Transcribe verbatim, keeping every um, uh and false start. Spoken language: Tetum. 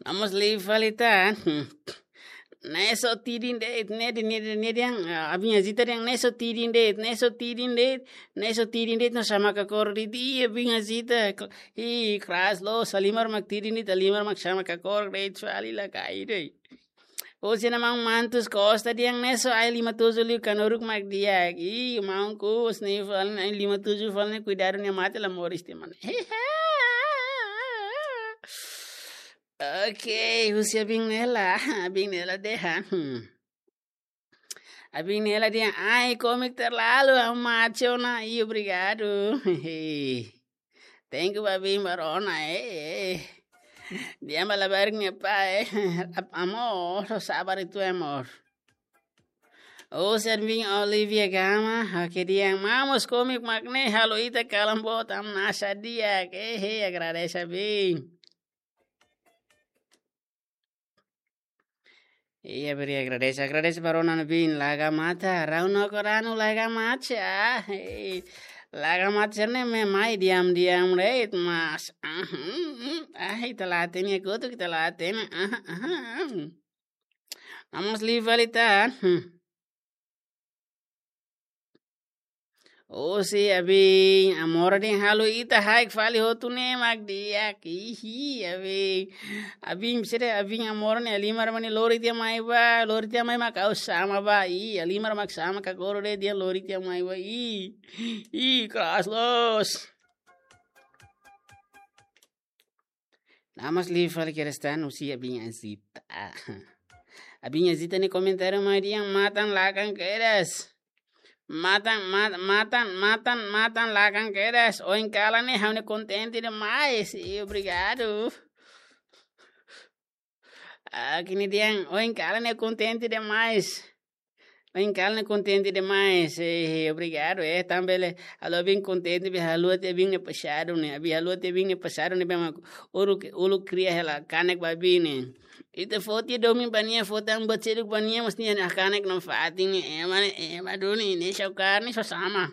Vamos li falita. Neso tidin de'it, ne di, ne di, ne di yang, ah, abin azita yang neso tidin de'it, neso tidin de'it, neso tidin de'it, no sama kakor di di, abin azita, i kras lo, halimar mak tidin de'it, halimar mak sama kakor de'it, fali la kai de'it. Husi nia maun Mantus Costa dehan neso ai lima tujuh liu kanuruk mak di'ak. I maun kus ni fali ai lima tujuh fali ne'e kuidadu nia mate la moris tiha mane. Ok, husi abin Nela, abin Nela dehan. Hmm. Abin Nela dehan ai kómiku terlalu, ha'u mate ona, i obrigadu. Thank you ba abin ba rona, eh, eh. Dehan ba labarik nia pai, eh. Ap-, amor, sabar itu amor. Husi abin Olivia Gama, oke dehan maun mós kómiku mak ne'e halo ita kalan boot, ami nasa di'ak, eh, eh, agradese abin. Iya, beri agradese, agradese ba rona abin, laga mata, rau no koranu laga mata, ah, eh, laga mata serne me mai diam-diam reit, mas, ah, hmm, hmm, ah, ita la hatene, kutu ita la hatene, ah, ah, ah. Vamos li falita, hmm. Husi abin, amor dehan halo ita haik fali hotu ne'e mak di'ak, ihi, abin. Abin, sede abin amor ne'e halimar mane lori tiha mai ba, lori tiha mai mak ha'u sama ba, i, halimar mak sama kakor de'it dehan lori tiha mai ba, i, i, keras los. Namas li fali kerestan husi abin azita. Abin azita nia komentáriu mai dehan matan lakan kedas. Matan, mat-, matan, matan, matan lakan kedas. Oin kalan ne'e ha'u ne'e kontente demais. I obrigadu. Ah, kini dehan, oin kalan ne'e kontente demais. Oin kalan ne'e kontente demais. Eh, obrigadu, eh, tanba bele halo abin kontente be haluha tiha abin nia pasadu ne'e. Abin haluha tiha abin nia pasadu ne'e be mak uluk, uluk kria hela kanek ba abin ne'e. Ita foti domin ba nia, foti an ba ceduk ba nia, mas nia kanek no fatin ne'e, ema ne'e, ema duni, ne'e só karni só sama.